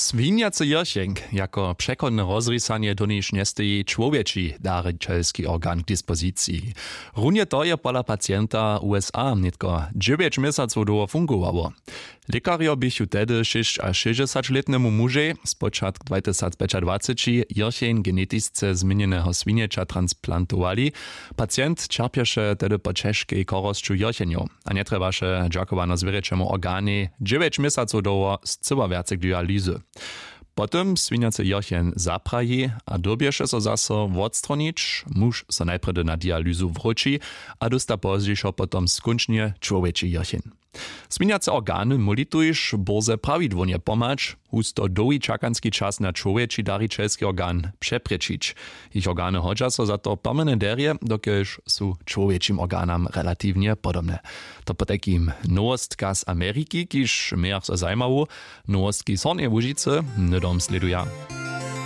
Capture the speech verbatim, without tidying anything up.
Swinjacy jěrcheń jako přechodne rozrisanje doniž njestoji čłowječi darićelski organ k dispoziciji. Runje to je pola pacienta w usa nětko dźewjeć měsacow dołho fungowało. Lěkarjo běchu tehdy šěsćašěsćdźesaćlětnemu mužej spočatk dwatysacpjećadwaceći jěrcheń genetisce změnjeneho swinjeća transplantowali. Pacient ćerpješe tehdy po ćežkej chorosću jěrchenjow a njetrjebaše dźakowanozwěrjećemu organej dźewjeć měsacow dołho scyła wjace k dialyzy. Po tym swinjacy jěrcheń zapraji a dyrbješe so zaso wotstronić. Muž so najprjedy na dialyzu wróći a dósta pozdźišo potom skónčnje čłowječi jěrcheń. Swinjace organy móli tuž bórze prawidłownje pomhać husto dołhi čakanski čas na čłowječi darićelski organ přeprěčić. Jich organy hodźa so za to pomjene derje dokelž su čłowječim organam relatiwnje podobne. To potajkim nowostka z ameriki kiž mějach so zajimawu. Nowostki z hornjeje łužicy hnydom slěduja.